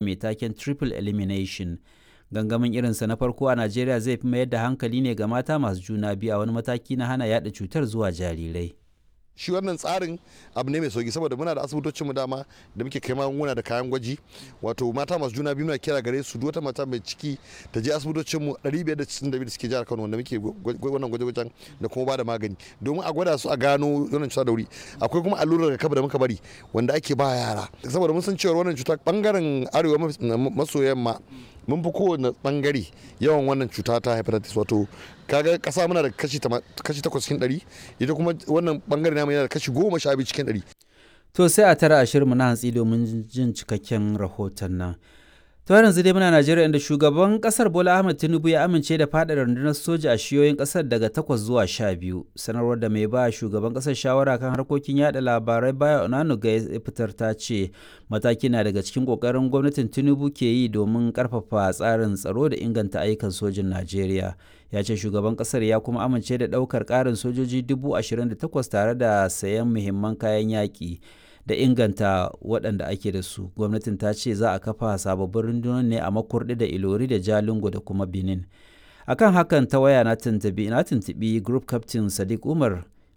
Mai taken "Triple Elimination." Gangamin irinsa na farko a Najeriya zai fi mayar da hankali ne ga mata masu juna biyu a wani mataki na hana yaɗa cutar zuwa jarirai. Shi wannan tsarin abu ne mai sauki, saboda muna da asibitocin mu dama da muke kai magunguna da kayan gwaji. Wato mata masu juna biyu, muna kira gare su, duk wata mata mai ciki ta je asibitocin mu 562 da suke jihar Kano, wanda muke wannan gwaje-gwajen da kuma bada magani domin a gwada su a gano wannan cuta da wuri. Akwai kuma allurar rigakafi da muka bari wanda ake ba yara, saboda mun san cewa wannan cuta, bangaren arewa maso yamma mun fi kowane bangare yawan wannan cuta ta hepatitis. Wato kaga kasa muna da kashi 8 cikin 100, ita kuma wannan bangare namu yana da kashi 12 cikin 100. To sai a tara ashirinmu na hantsi domin jin cikakken rahoton nan. To har yanzu dai muna Najeriya, inda shugaban kasar Bola Ahmed Tinubu ya amince da faɗaɗa rundunar soja a shiyoyin kasar daga 8 zuwa 12. Sanarwar da mai ba shugaban kasar shawara kan harkokin yada labarai Bayo Onanuga ya fitar ta ce mataki na daga cikin kokarin gwamnatin Tinubu ke yi domin karfafa tsarin tsaro da inganta ayyukan sojin Najeriya. Ya ce shugaban kasar ya kuma amince da ɗaukar ƙarin sojoji 28,000 tare da sayan muhimman kayan yaƙi da inganta waɗanda ake da su. Gwamnatin ta ce za a kafa sababbin rundunar ne a Makurdi da Ilori da Jalingo da kuma Benin. Akan hakan, ta waya na tuntubi group captain Sadiq Umar.